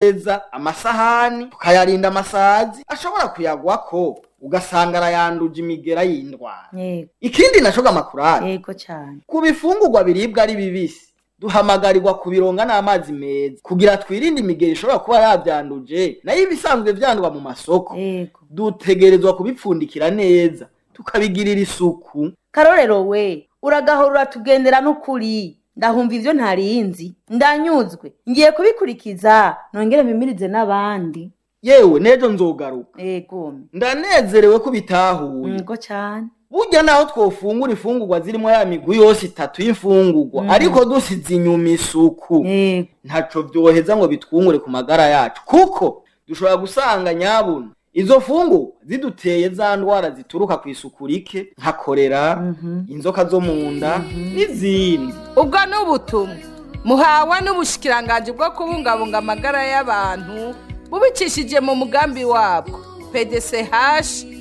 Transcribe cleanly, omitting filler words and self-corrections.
Neza amasahani tukayarinda amasazi ashobora kuyagwako ugasanga arayanduje imigera y'indwara. Yego. Ikindi naco gamakurari, Yego cane. ku bifungurwa biribwa ari bibisi duhamagarirwa kubironga n'amazi meza kugira twirinde imigera ishobora kuba yavyanduje, nayo ibisanzwe vyandwa mu masoko Yego. dutegerezwa kubipfundikira neza tukabigirira isuku. Karorero we, uragahora uratugendera n'ukuri. Ndahumva ivyo ntarinzi, ndanyuzwe, ngiye kubikurikiza nongere mpimirize n'abandi. Yewe, n'ejo nzogaruka. Yego. Ndanezerewe ko bitahuye. Yego cane. Burya naho twofungura ifungurwa zirimo ya migwi yose itatu y'imfungurwa, ariko dusize inyuma isuku, Yego. ntaco vyoheza ngo bitwungure ku magara yacu, kuko dushobora gusanga nyabuna izo fungurwa ziduteye za ndwara zituruka ku isuku rike nka korera, inzoka zo mu nda n'izindi. Ubwo ni ubutumwa muhawe n'ubushikiranganji bwo kubungabunga amagara y'abantu bubicishije mu mugambi wabwo PDCH.